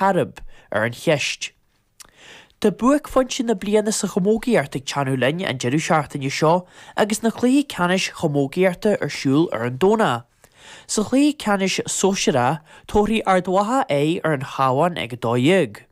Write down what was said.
Chairib ar an cheist. Tá buaicphointe na bliana sa chamógaíocht ag teannadh linn an deireadh seachtaine seo agus na cluichí ceannais chamógaíochta ar siúl ar an Domhnach. Sa chluiche ceannais sóisearach, tabharfaidh Ard Mhacha aghaidh ar an Chabhán ag 12.